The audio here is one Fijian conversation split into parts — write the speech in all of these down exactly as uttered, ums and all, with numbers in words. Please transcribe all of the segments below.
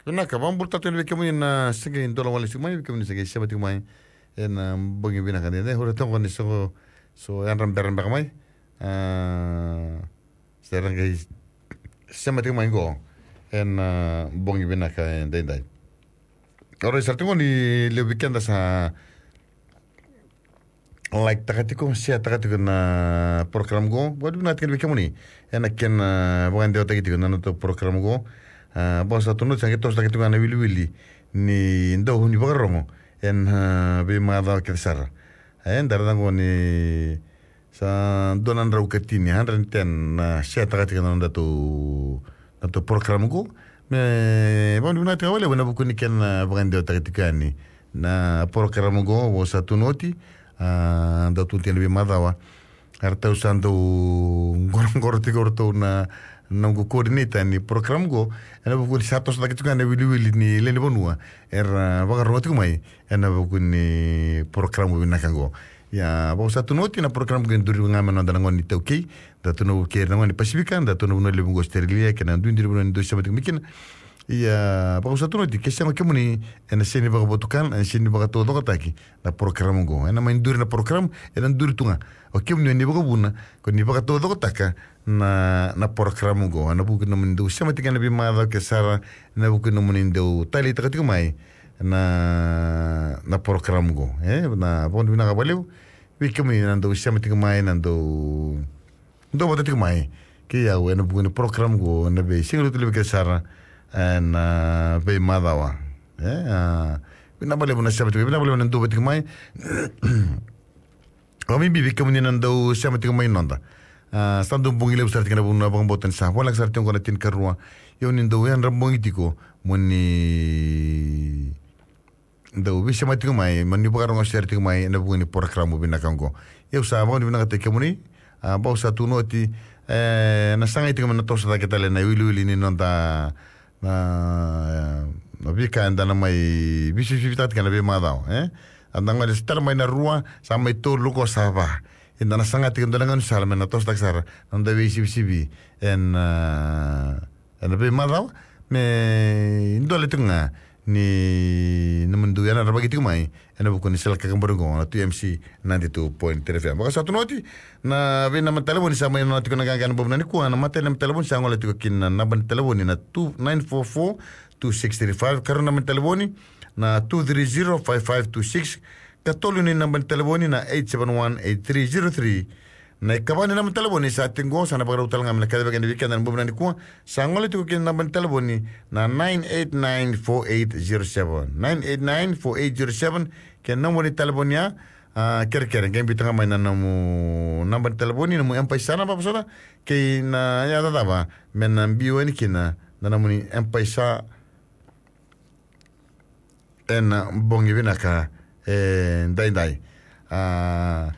Vinaka, vakabula tale tiko yani vei kemuni na se qai dola wale tiko mai, vei kemuni se qai sema tiko mai ena bogi vinaka edaidai. Ura toka ni so, so yadra bera beka mai. Ah, se ra qai sema tiko mai qo ena bogi vinaka edaidai. Ora, sa tiko ni levu vei keda sa like taka tiko, share taka tiko na program qo. Vakavinavinaka tiko yani vei kemuni ena kena vakadewataki tiko na nodatou program qo. Ah, vaka sa tukuni oti, sa qai tosotaki tiko ga na wiliwili ni dau ni vakarogo ena, ah, veimacawa kece sara. E, da raica qo ni sa dua na drau ka tini, hundred and ten na share taka tiko na nodatou, nodatou program qo. Me vakavinavinaka tiko vakalevu ena vuku ni kena vakadewataki tiko yani na program qo, vaka sa tukuni oti, ah, dau tukuni tiko yani veimacawa. Eratou sa dau qoroqoro tiko o ratou na, na noqu coordinator ni program qo, ena vuku ni sa tosotaki tiko ga na wiliwili ni lewe ni vanua era vakarogo tiko mai ena vuku ni program vinaka qo. Ia, vaka sa tukuni oti, na program qo e duri ga mai na noda na gone ni iTaukei. Da tu na vuku kei ira na gone ni Pasifika, da tu na vanua levu qo Australia, kei na duidui ni vanua ni dau sema tiko mai kina. Ia, vaka sa tukuni oti, ke sega o kemuni, ena sega ni vakavotukana, ena sega ni vakataucokotaki na program qo. Ena mai duri na program, ena duri tu ga. O kemuni o ni vakavuna, ko ni vakataucokotaka na, na program qo. Ena vuku ni nomuni dau sema tiko ena veimacawa kece sara, ena vuku ni nomuni dau taleitaka tiko mai na, na program qo. E, na vakavinavinaka vakalevu vei kemuni na dau sema tiko mai, na dau dau vata tiko mai kei au ena vuku ni program qo ena veisiga levu tale vei keda sara ena veimacawa. E, ah, vinaka vakalevu na sema tiko, vinaka vakalevu na dau vata tiko mai. Vakabibi vei kemuni na dau sema tiko mai noda. Ah, sa dau bogi levu sara tiko na vanua vakabauta ni sa voleka sara tiko qo na tinikarua. Ia o ni dau yadra bogi tiko mo ni dau veisema tiko mai, mo ni vakarogo sere tiko mai ena vuku ni program vinaka qo. Ia au sa vakavinavinakataki kemuni, ah, vaka sa tukuni oti, e, na sagai tiko me na toso cake tale na wiliwili ni noda na, na veika eda na mai veisivisivitaka tiko ena veimacawa, e? Eda gole tale mai na rua, sa mai tolu, qo sa va. Eda na saga tiko e dua na gaunisala me na toso cake sara na noda veisivisivi ena, ah, ena veimacawa, me dola tiko ga ni nomuni dau yadra vata tiko mai ena vuku ni sala kakabori qo na two M C ninety-two point three F M. Vaka sa tukuni oti, na veinaba ni talevoni sa mai nona tiko na qaqa ena bogi vinaka nikua. Na imatai ni naba ni talevoni sa gole tiko kina na naba ni talevoni na two nine four four two six three five, karua ni naba ni talevoni na two three zero five five two six, katolu ni naba ni talevoni na eight seven one eight three zero three. Na ikava ni naba ni talevoni sa tiko qo, sa na vakarau tale ga me na kacivaki yani vei keda ena bogi vinaka nikua. Sa gole tiko kina na naba ni talevoni na nine eight nine four eight zero seven, nine eight nine four eight zero seven. Kei na nomu ni talevoni ya, ah, kerekere qai biuta ga mai na nomu naba ni talevoni, nomu M-PAiSA naba vosota, kei na yaca cava me na biu yani kina na nomuni M-PAiSA ena bogi vinaka edaidai. Ah,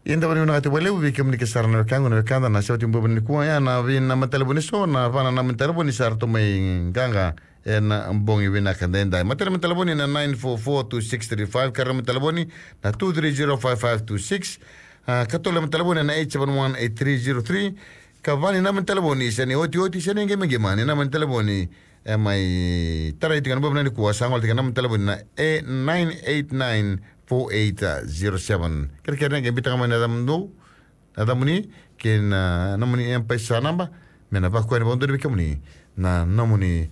ia da vakavinavinakataki vakalevu vei kemuni kece sara na wekaqu, na wekada na sema tiko ena bogi vinaka nikua. Ia na veinaba ni talevoni eso, na va na naba ni talevoni sa ratou mai qaqa ena bogi vinaka edaidai. Imatai ni naba ni talevoni na nine four four two six three five, karua ni naba ni talevoni na two three zero five five two six, ah, katolu ni naba ni talevoni na eight seven one eight three zero three. Ikava ni naba ni talevoni, se ni otioti, se ni qimaqima ni naba ni talevoni e mai tarai tiko ena bogi vinaka nikua, sa gole tiko na naba ni talevoni na nine eight nine four eight zero seven. Kerekere qai biuta ga mai na yacamuni, na yacamuni kei na nomuni M-PAiSA naba, me na vakakoya ni vakadonui vei kemuni na nomuni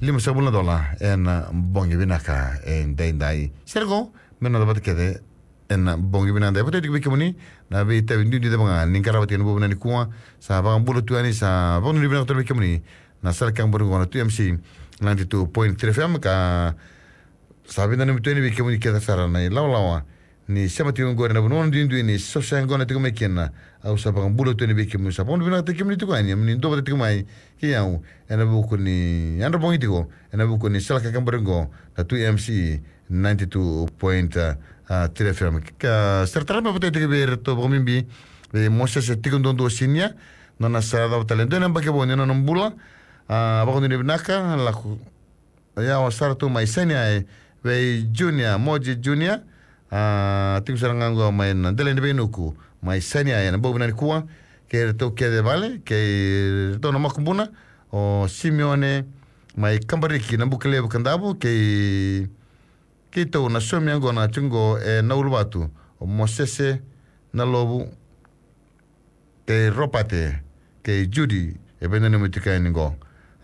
limasagavulu na dola ena bogi vinaka edaidai. Sere qo me na noda vata kece ena bogi vinaka edaidai. Vakataki tiko vei kemuni na veitavi duidui cava ga ni qarava tiko ena bogi vinaka nikua. Sa vakabula tu yani, sa vakadonui vinaka tale vei kemuni na sala kakabori qo na two M C ninety-two point three F M, ka sa veinanumi tu yani vei kemuni kece sara na ilawalawa ni sema tiko qori ena vanua duidui ni so se qo na tiko mai kina. Au sa vakabula tu yani vei kemuni, sa vakavinavinakataki kemuni tiko yani, mo ni duavata tiko mai kei au ena vuku ni yadra bogi tiko ena vuku ni sala kakabori qo na two M C ninety-two point three F M. Ka sere tale me vakataki tiko vei iratou vakabibi vei Mosese Tikoduadua Senior, nona sa cava tale e dua na yabaki vou ni nona bula. Ah, vakadonui vinaka, lako yawa sara tu mai Sainia, e, vei Junior, Moji Junior. Ah, tiko sara ga qo mai na Delainiveinuku mai Sainia ena bogi vinaka nikua. Kei iratou kece e vale, kei iratou na makubuna, o Simeone, mai Kabariki, Nabukelevu, Kadavu, kei keitou na saumi yaqona tiko qo e Nauluvatu, o Mosese Nalovu, kei Ropate, kei Judi, e veinanumi tiko yani qo.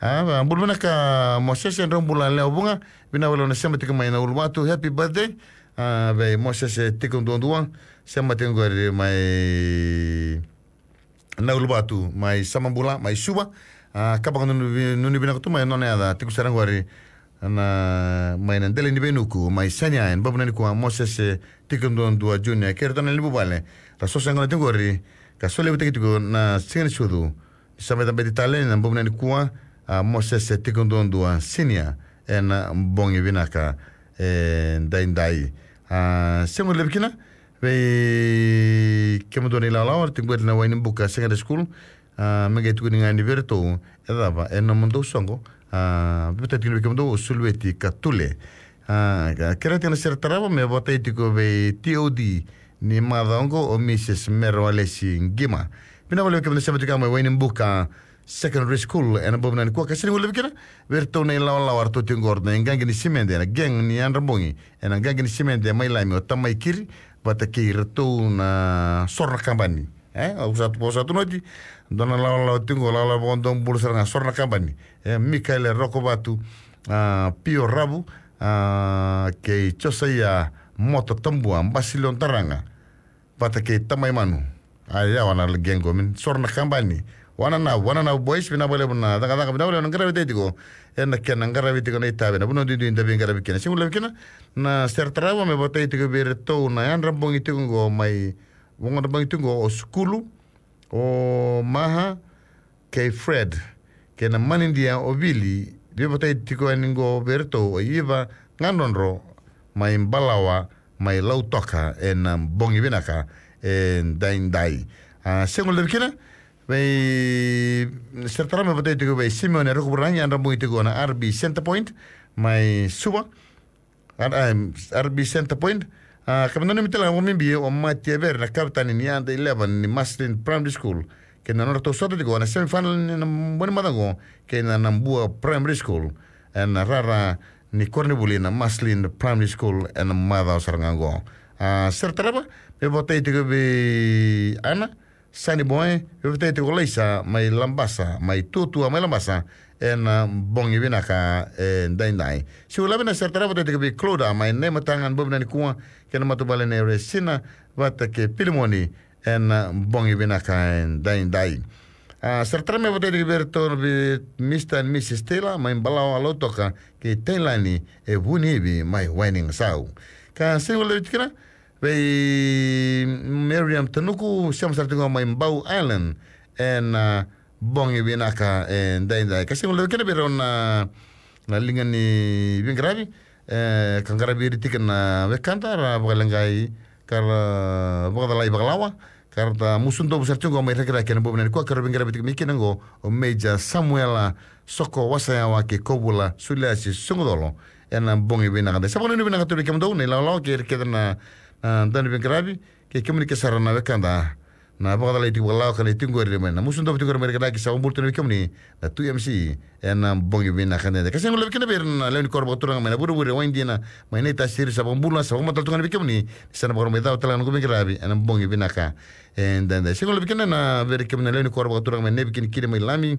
A, bula vinaka Mosese, drau bula lewa vuqa, vinaka vakalevu na sema tiko mai Nauluvatu, happy birthday. A, vei Mosese tiko duadua, sema tiko qori mai Nauluvatu, mai Samabula, mai Suva. A, ka vaka nunu vi-, nunu vinaka tu mai nona yaca, tiko sara qori na, mai na dela ni veinuku, mai Sania, ena bogi vinaka nikua, Mosese tiko duadua Junior, kei iratou na levu vale, ra sosa yaqona tiko qori, ka solevutaki tiko na siga ni sucu. Sa mai cabeti tale ena bogi vinaka nikua, a, Mosese tiko duadua Senior, ena bogi vinaka, e, daidai. A, sega ni levu kina, vei kemudou na ilawalawa, tiko qori na Wainibuka Secondary School, a, me qai tukuni ga ni vei iratou, e cava, e nomudou soqo, a, vei iratou tiko ni vei kemudou, o Sulueti Katule. A, ka-, kerea tiko na sere tarava, me vakatai tiko vei T O D, ni macawa oqo, o Mrs Mera Walesi Qima. Vinaka vakalevu kemudou na sema tiko mai Wainibuka Secondary School, ena bogi vinaka nikua, ka sega ni guilecavi kina, vei iratou na ilawalawa, ratou tiko qori, na iqaqi ni simede, na gang ni Yadrabogi, ena iqaqi ni simede, mai Lami, o Tamai Kiri, vata kei iratou na Soro na Kabani. E, au sa tu, au sa tu noti, dua na lawalawa tiko, lawalawa vakadomobula sara ga, Soro na Kabani. E, Mikaele Rokovatu, a, Pio Ravu, a, kei Josaia Moto Tabua, Basilio Daraga, vata kei Tamai Manu. A, ia, wana la gang qo, min Soro na Kabani. Wana na, wana na boys, vinaka vakalevu na cakacaka, vinaka vakalevu na qaravi tiko. Ena kena qaravi tiko na itavi, na vanua duidui da veiqaravi kina. Sega ni levu kina, na sere tarava, me vakatai tiko vei iratou na Yadrabogi tiko qo mai Vakayadrabogi tiko qo o Sukulu, o Maha, kei Fred, kei na manidia o Vili, veivakatai tiko yani qo vei iratou o Iva Gadrodro, mai Balawa, mai Lautoka, ena bogi vinaka, e daidai. A, sega ni levu kina, vei sere tarava me vakatai tiko vei Simeone Rukuvuragi, Yadrabogi tiko na R B Center Point, mai Suva, R-, em, R B Center Point. A, ka me nanumi tale ga vakabibi o Mati Evere na kavetani ni under eleven ni Maslin Primary School, kei na nodratou sota tiko na semifinal ni na bogi ni macawa qo kei na Nabua Primary School, ena rara ni koronivuli na Maslin Primary School, ena macawa sara ga qo. A, sere tarava me vakatai tiko vei Ana Sani Boy, veivakatai tiko Laisa mai Labasa, mai Tuatua mai Labasa, ena bogi vinaka, e daidai. Siu Lavi, na sere tarava vakatai tiko vei Cloda mai Naimataga, ena bogi vinaka nikua, kei na matavuvale nei Resina vata kei Pilimoni, ena bogi vinaka, e daidai. A, sere tarava me vakatai tiko vei iratou na vei Mister and Missus Taylor mai Balawa, Lautoka, kei Tailani e Vuniivi mai Wainikasau. Ka sega ni levu kina, vei Miriam Tanuku, sema sara tiko mai Bau Island, ena bogi vinaka, e daidai. Ka sega ni levu kina vei rau na, na liga ni veiqaravi, e, ka qaravi ira tiko na wekada, ra vakaleqai, ka ra vakacalai vakalawa, ka ra ta musu dovu sara tiko qo mai Rakiraki ena bogi vinaka nikua, ka ra veiqaravi tiko mai kina qo, o Major Samuela Soko Wasayawa kei Kovula Suliasi Sugucolo, ena bogi vinaka daidai. Sa vakanuinui vinaka tu vei kemudou na ilawalawa kei ira kece na, na dauveiqaravi, kei kemuni kece sara na wekada, na vakacalai tiko vakalawa ka lai tiko qori mai, na musu dovu tiko qori mai Rakiraki, sa vakabula tu vei kemuni na two M C, ena bogi vinaka daidai. Ka sega ni levu kina vei ira na lewe ni koro vakaturaga mai na Vurevure, Waidina, mai Naitasiri, sa vakabula, sa vakamatala tu ga vei kemuni, ni sa na vakarau mai cava tale ga na noqu veiqaravi ena bogi vinaka, e daidai. Sega ni levu kina na vei ira kemuni na lewe ni koro vakaturaga mai Naivikinikini, mai Lami,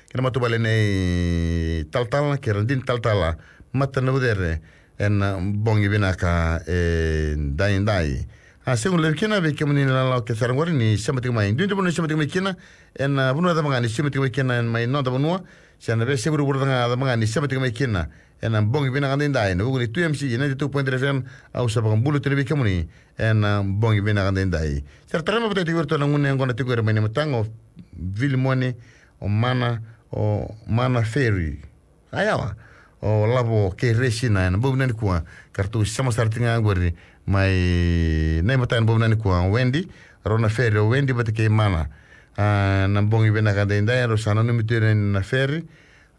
kei na matavuvale nei Talatala, kei Radini Talatala, Matanavucere, ena bogi vinaka, e daidai. A, sega ni levu kina vei kemuni na ilawalawa kece sara qori ni sema tiko mai. Duidui vanua ni sema tiko mai kina, ena vanua cava ga ni sema tiko mai kina, ena mai noda vanua, se na veiyasai vuravura cava ga ni sema tiko mai kina, ena bogi vinaka daidai, ena vuku ni two M C, ninety-two point three F M, au sa vakabula tu vei kemuni, ena bogi vinaka daidai. Sere tarava me vakatai tiko vei iratou na gone yaqona tiko qori mai Naimataga, o Vilimoni, o Mana, o Mana Ferry. A, yawa, o Lavo kei Resina, ena bogi vinaka nikua, ka ratou sema sara tiko ga qori mai Naimataga ena bogi vinaka nikua, o Wendy, rau na Ferry, o Wendy vata kei Mana. A, na bogi vinaka daidai, rau sa nanumi tu ira na Ferry,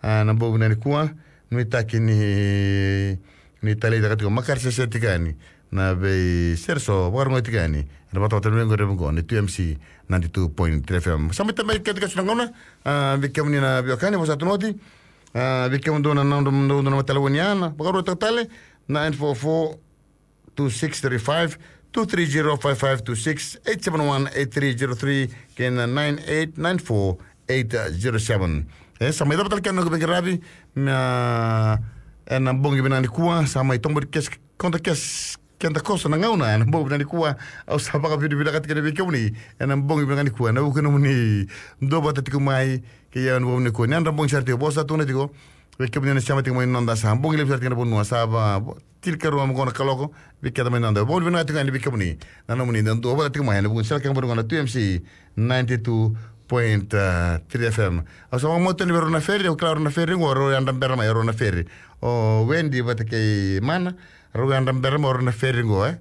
a, na bogi vinaka nikua, nuitaki ni, ni taleitaka tiko, makare sese tiko yani na veisere so, vakarogoci tiko yani ena vatavata ni veiqaravi qo ni two M C, ninety-two point three F M. Sa mai tamai kece ka su na gauna, a, vei kemuni na veiwekani, vosa tu na oti, A, vei kemudou na, na, na, na, na matalevoni ya, na vakaruataka tale, nine four four two six three five, two three zero five five two six, eight seven one eight three zero three, kei na nine eight nine four eight zero seven. E, sa mai cava tale kena noqu veiqaravi, na, ena bogi vinaka nikua, sa mai tobo kes, konta kes, keda koso na gauna, ena bogi vinaka nikua, au sa vakavinavinakataka kina vei kemuni, ena bogi vinaka nikua, ena vuku nomuni duavata tiko mai, kei au ena bogi nikua, ni yadra bogi sara tiko, vosa tu na tiko, vei kemuni na sema tiko mai noda sa, bogi levu sara tiko na vanua, sa va, vo-, tinikarua mai qo na kaloko, vei keda mai noda. Vakavinavinaka tiko yani vei kemuni, na nomuni, na duavata tiko mai, ena vuku ni sala kena vanua na two M C, ninety-two point three F M. Au sa vakamautani vei rau na feri, au kila rau na feri, qo rau yadra bera mai, rau na feri. O Wendy vata kei Mana, rau yadra bera mai, rau na feri qo, e.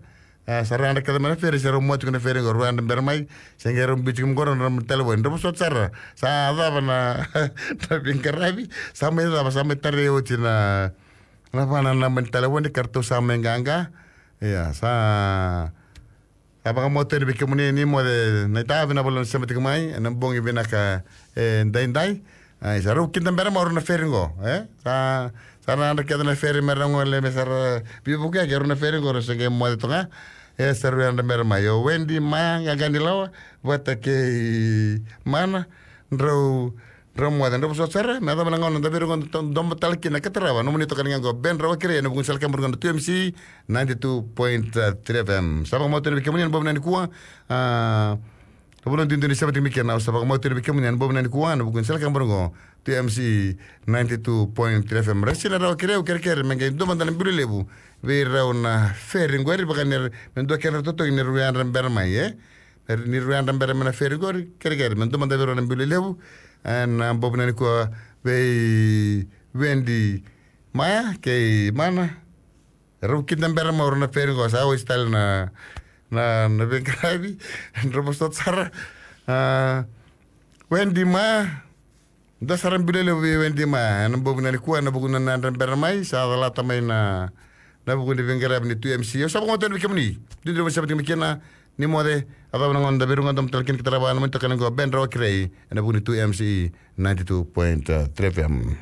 A, sa rau yadra kece mai na feri, sa rau mua tiko na feri qo, rau yadra bera mai, se qai rau biu tiko mai qo, rau na talevoni, rau vosota sara, sa cava na, na veiqaravi, sa mai cava, sa mai tarai oti na, na va na naba ni talevoni, ka ratou sa mai qaqa, ia, sa, sa vakamautani vei kemuni ni moce, na itavi na vale na sema tiko mai, ena bogi vinaka, e, daidai, Ai, sa rau kida bera mai o rau na feri qo, e? Sa, sa ra yadra kece na feri me ra gole me sa ra veivuke, ke rau na feri qo, rau se qai moce toka. E, sa rau yadra bera mai. O Wendy, Maya, Qaqa ni Lawa, vata kei Mana, drau, drau moce, drau vosota sara, me yacova na gauna da veirogo, da to-, domo tale kina ka tarava, nomuni toka ni ga qo, Ben Rawa Kirei, ena vuku ni sala kebara qo na two M C, ninety-two point three F M. Sa vakamautani vei kemuni, ena bogi vinaka nikua, a, Au vula duidui ni sema tiko mai kina, au sa vakamautani vei kemuni ena bogi vinaka nikua, ena vuku ni sala kebara qo, two M C ninety-two point three F M. Rasina Rawa Kirei, au kerekere me qai dua mada na bilo levu vei rau na feri qori, vaka ni ra, me dua kena totogi ni rau yadra bera mai, e? Ni rau yadra bera mai na feri qori, kerekere me dua mada vei rau na bilo levu, ena bogi vinaka nikua vei Wendy, Maya kei Mana. Rau kida bera mai o rau na feri qo, sa oti tale na, na, na veiqaravi, drau vosota sara. A, Wendy, Maya, dua sara bilo levu vei Wendy, Maya, ena bogi vinaka nikua, ena vuku ni nona yadra bera mai, sa calata mai na, na vuku ni veiqaravi ni two M C. Au sa vakamautani vei kemuni, duidui ni sema tiko mai kina, ni moce, yacova na gauna da veirogo, domo tale kina ka tarava, nomuni toka ni qo, Ben Rawa Kirei, ena vuku ni two M C ninety-two point three F M.